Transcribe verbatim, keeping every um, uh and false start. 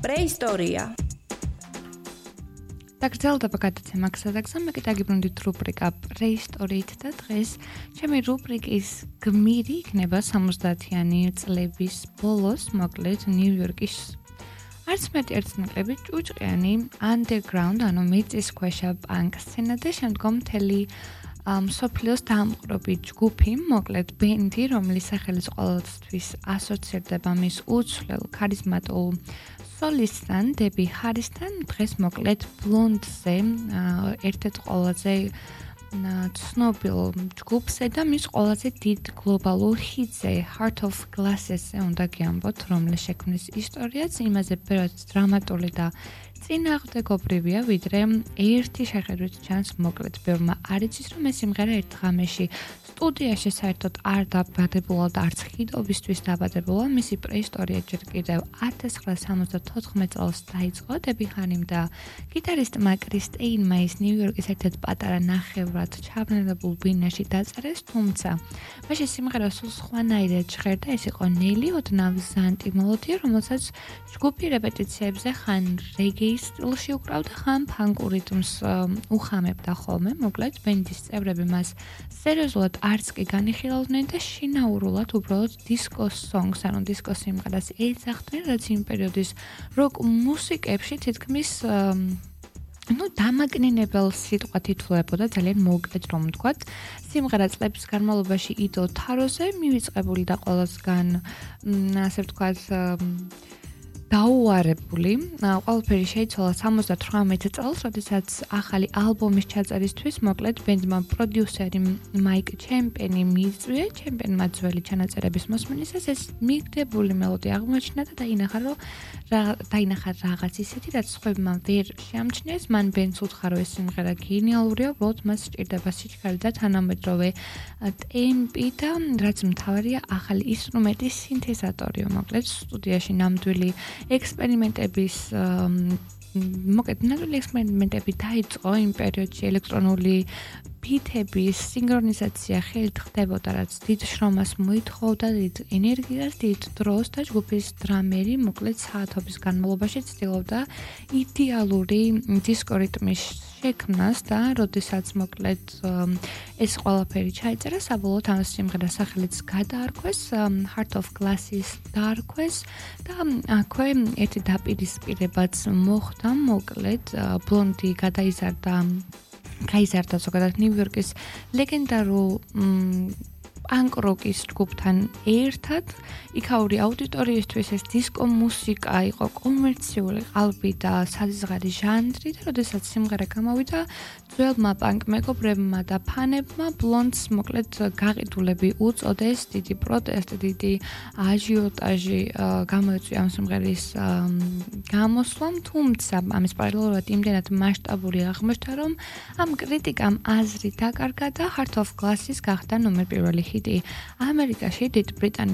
პრეისტორია. დაგრძელდება გადაცემა გზადაგზა, მე გიტაგიბრუნდით რუბრიკა პრეისტორიით და დღეს ჩემი რუბრიკის გმირი იქნება სამოცდაათიანი წლების ბოლოს, მოკლედ ნიუ-იორკის არც მეტი ერთნაკლები ჭუჭყიანი underground, ანუ მიწისქვეშა პანკ სცენა და შემდგომ მთელი მსოფლიოს დამყრობი ჯგუფი, მოკლედ ბენდი, რომლის სახელიც ყოველთვის ასოცირდება მის უცვლელ ქარიზმატულ სოლისტთან, დები ჰარისთან, დღეს მოკლედ ბლონდზე, ერთ-ერთ ყველაზე ცნობილ ჯგუფზე და მის ყველაზე დიდ გლობალურ ჰიტზე, Heart of Glass-ზე უნდა გიამბოთ, რომლის შექმნის ისტორიაც იმაზე ბევრად დრამატული და წინააღმდეგობრივია, ვიდრე ერთი შეხედვით ჩანს, მოკლედ ბევრმა არ იცის, რომ ეს სიმღერა ერთ ღამეში სტუდიაში საერთოდ არ დაბადებულა და არც ჰიტობისთვის დაბადებულა. მისი პრეისტორია ჯერ კიდევ ათას ცხრაასა სამოცდათოთხმეტ წელს დაიწყო დები ჰარიმ და გიტარისტმა კრის სტეინმა ის ნიუ-იორკის ერთ-ერთ პატარა ნახევრად ჩაბნელებულ ბინაში დაწერეს, თუმცა მაშინ სიმღერა სულ სხვანაირად ჟღერდა, ეს იყო ნელი ოდნავ ზანტი მელოდია, რომელსაც ჯგუფი რეპეტიციებზე ხან რეგეის სტილში უკრავდა, ხან ფანკურ რიტმს უხამებდა ხოლმე. მოკლედ ბენდის წევრები მას სერიოზულად არც კი განიხილავდნენ და შინაურულად უბრალოდ დისკოს სონგს, ანუ დისკოს სიმღერას ეძახდნენ, რაც იმ პერიოდის როკ მუსიკებში თითქმის ну, დამაკნინებელ სიტყვად ითვლებოდა, ძალიან მოკლედ რომ ვთქვათ. სიმღერა წლების განმავლობაში იდო თაროზე მივიწყებული და ყველასგან, ასე ვთქვათ, დაუარებული. ყველაფერი შეიცვალა სამოცდათვრამეტ წელს, როდესაც ახალი ალბომის ჩაწერისთვის, მოკლედ ბენდმა პროდიუსერი მაიკ ჩემპენი მიიწვია, ჩემპენმა ძველი ჩანაწერების მოსმენისას ეს მიგდებული მელოდია აღმოაჩინა და დაინახა, რომ დაინახა რაღაც ისეთი, რაც სხვებმა ვერ შეამჩნიეს. მან ბენდს უთხრა, რომ ეს სიმღერა გენიალურია, უბრალოდ მას სჭირდება სიჩქარე და თანამედროვე ტემპი და რაც მთავარია, ახალი ინსტრუმენტის სინთეზატორი. მოკლედ სტუდიაში ნამდვილი ექსპერიმენტების მოკლედ ნამდვილი ექსპერიმენტები დაიწყო იმ პერიოდში ელექტრონული ბიტების სინქრონიზაცია ხელით ხდებოდა, რაც დიდ შრომას მოითხოვდა, დიდ ენერგიას, დიდ დროს და ჯგუფის დრამერი მოკლედ საათობის განმავლობაში ცდილობდა იდეალური დისკო რიტმის შექმნას და როდესაც მოკლედ ეს ყველაფერი ჩაიწერა, საბოლოოდ ამ სიმღერას სახელიც გადაარქვეს, Heart of Glass-ის დაარქვეს და აქვე ერთი დაპირისპირებაც მოხდა, მოკლედ ბლონდი გადაიზარდა გაიზარდა ზოგადად ნიუ-იორკის ლეგენდარულ პანკ-როკის ჯგუფთან ერთად. იქაური აუდიტორიისთვის ეს დისკო მუსიკა იყო კომერციული ყალბი და საზღარი ჟანრი და როდესაც სიმღერა გამოვიდა, ძველმა პანკ მეგობრებმა და ფანებმა ბლონდს მოკლედ გაყიდულები უწოდეს, დიდი პროტესტი, დიდი აჟიოტაჟი გამოიწვია ამ სიმღერის გამოსვლამ, თუმცა ამის პარალელურად იმდენად მასშტაბური აღმოჩნდა, რომ ამ კრიტიკამ აზრი დაკარგა და Heart of Glass-ის გახდა ნომერ პირველი ჰიტი ამერიკაში, დიდ ბრიტანეთში